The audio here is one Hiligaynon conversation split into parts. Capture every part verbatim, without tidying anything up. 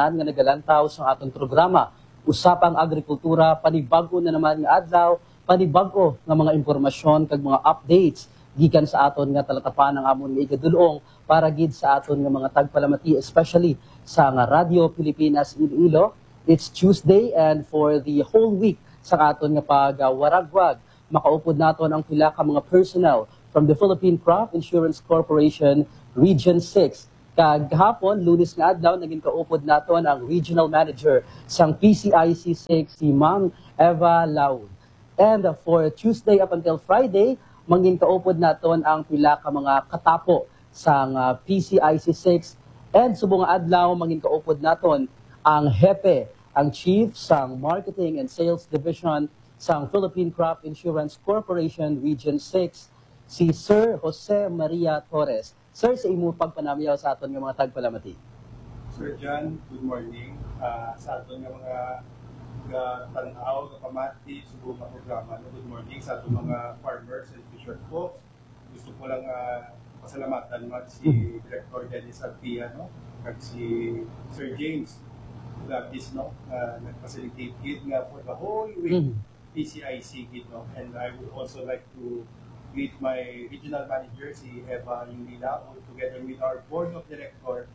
nga nagalantaw sa aton programa, Usapang Agrikultura, panibag-o na naman nga adlaw, panibag-o nga mga impormasyon kag mga updates gikan sa aton nga talatapan ang amon nga igadul-ong para gid sa aton nga mga tagpalamati, especially sa nga Radyo Pilipinas Iloilo. It's Tuesday, and for the whole week sa aton nga pagwaragwag, makaupod naton ang pila ka mga personnel from the Philippine Crop Insurance Corporation Region six. Kag gahapon, Lunes nga adlaw, naging kaupod naton ang Regional Manager sang P C I C six, si Ma'am Eva Laud. And for Tuesday up until Friday, mangin kaupod naton ang pila ka mga katapo sang, ah, P C I C six. And subong nga adlaw, mangin kaupod naton ang hepe, ang chief sang Marketing and Sales Division sang Philippine Crop Insurance Corporation Region six, si Sir Jose Maria Torres. Sir, sa imo pagpanamyaw sa aton nga mga tagpalamati. Sir John, good morning. Ah, sa aton nga mga gatan-aw, gapamati, subong nga programa, no? Good morning sa aton mga farmers and fisher folks. Gusto ko lang, ah, pasalamatan man si Mhm. Director Dennis Arpia, no? Kag si Sir James Gatis, no? Nga nag-facilitate gid nga for the whole week, Mhm. P C I C gid, no? And I would also like to greet my regional manager, si Eva Yulina, together with our board of director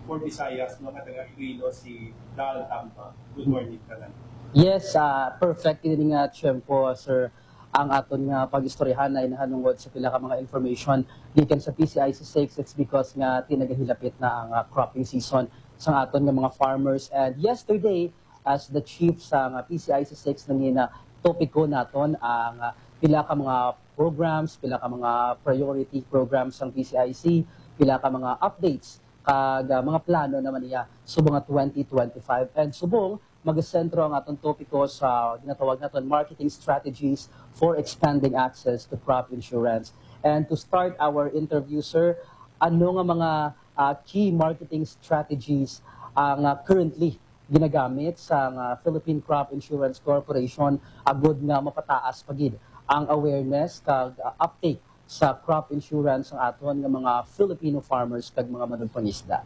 for Visayas, no, nga taga Iloilo, si Dal Tamba. Good morning, tanan. Yes, ah, perfect ini nga tiyempo, sir. Ang aton nga pag-istoryahan ay nahanungod sa pila ka mga information gikan sa P C I C six. It's because nga tinagahilapit na ang, ah, cropping season sa aton nga mga farmers. And yesterday, as the chief sa nga P C I C six, nangina topiko naton ang, ah, pila ka mga programs, pila ka mga priority programs sang P C I C, pila ka mga updates kag, ah, mga plano naman niya subong nga twenty twenty-five. And subong, magasentro ang aton topiko sa ginatawag naton marketing strategies for expanding access to crop insurance. And to start our interview, sir, ano nga mga, ah, key marketing strategies ang, ah, currently ginagamit sang, ah, Philippine Crop Insurance Corporation agud nga mapataas pa gid ang awareness kag, ah, uptake sa crop insurance ang aton nga mga Filipino farmers kag mga manugpangisda?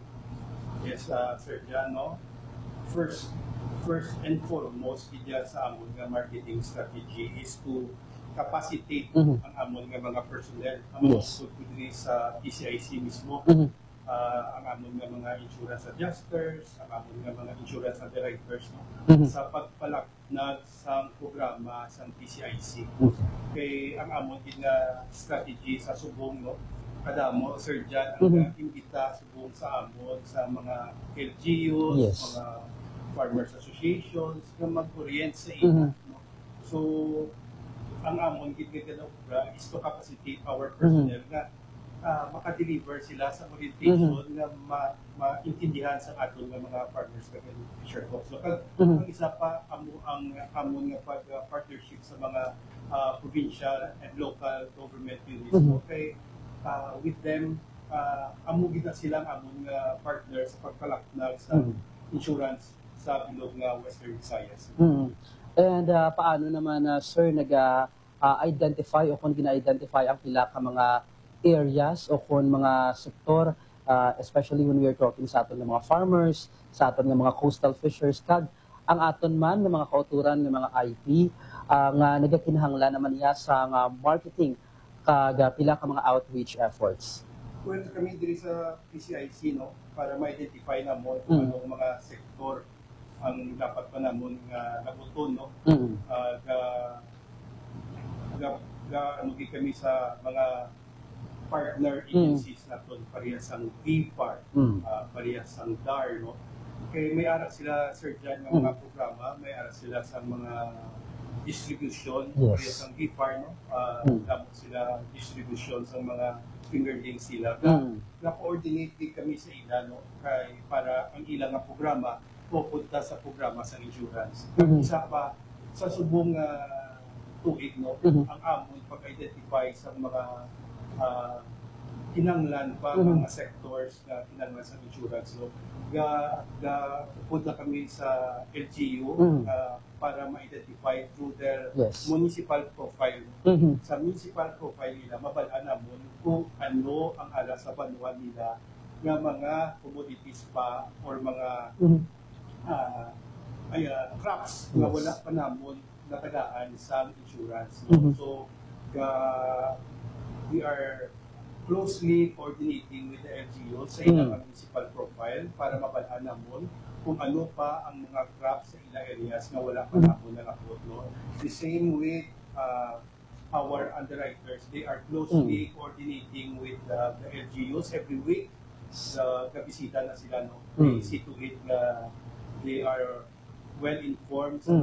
Yes, ah, Sir John, no? First, first and foremost, gid sa amon nga marketing strategy is to capacitate Mhm. ang amon nga mga personnel, ang mga Yes. usod ko diri sa P C I C mismo. Mhm. Ah, ang amon nga mga insurance adjusters, ang amon nga mga insurance underwriters, no? Mhm. Sa pagpalaknag sang programa sang P C I C. Okay. Kay ang amon gid nga strategy sa subong, no? Kadamo, Sir John, ang Mhm. nag-imbita subong sa amon sa mga L G Us, Yes. mga farmers associations, nga mag-orient sa ila, Mhm. no? So, ang amon gid nga ginaobra is to capacitate our Mhm. personnel nga, ah, maka-deliver sila sa orientation Mhm. nga ma-, maintindihan sa aton nga mga farmers kag fisher folks. So, kag Mhm. ang isa pa, amo ang amon nga pag, ah, partnership sa mga, ah, provincial and local government units, Mhm. no? Kay, ah, with them, ah, amo gid na sila ang amon nga partner sa pagpalaknag sa Mhm. insurance sa bilog nga Western Visayas. Mm. And, ah, paano naman, ah, sir, naga, ah, identify o kung gina-identify ang pila ka mga areas o kung mga sektor, ah, especially when we are talking sa aton nga mga farmers, sa aton nga mga coastal fishers, kag ang aton man nga mga kauturan nga mga I P, ah, nga nagakinahanglan naman niya sa nga marketing kag, ah, pila ka mga outreach efforts? Well, kami diri sa P C I C, no, para ma-identify namon kung Mm. anong mga sektor ang dapat pa namon nga labuton, no? Mm. Ah, ga, ga, ga, ano gid kami sa mga partner Mm. agencies naton, pareha sang VFAR, Mm. ah, pareha sang DAR, no? Kay may ara sila, Sir John, nga mga Mm. programa, may ara sila sa mga distribution, Yes. pareha sang VFAR, no? Ah, Mm. damo sila distribution sa mga fingerling sila. Ga, Mm. ga-coordinate gid kami sa ila, no? Kay para ang ila nga programa mapunta sa programa sa insurance. Kag Mhm. isa pa, sa subong nga tuig, no, Mhm. ang amon pag-identify sa mga, ah, kinahanglan pa Mhm. mga sectors nga kinahanglan sa insurance, no, ga, ga-upod na kami sa L G U, Mhm. ah, para ma-identify through their Yes. municipal profile. Mhm. Sa municipal profile nila, mabal-an namon kung ano ang ara sa banwa nila nga mga commodities pa or mga Mhm. ah, ay, ah, crops nga Yes. wala pa namon natagaan sa insurance. Mhm. So, uh, we are closely coordinating with the L G U sa Mhm. ilang municipal profile para mabal-an namon kung ano pa ang mga crops sa ila areas nga wala pa Mhm. namon nakapot, no? The same with uh, our underwriters. They are closely Mhm. coordinating with uh, the L G Us every week. Uh, gabisita na sila, no? They Mhm. see to it na they are well informed sa Mhm.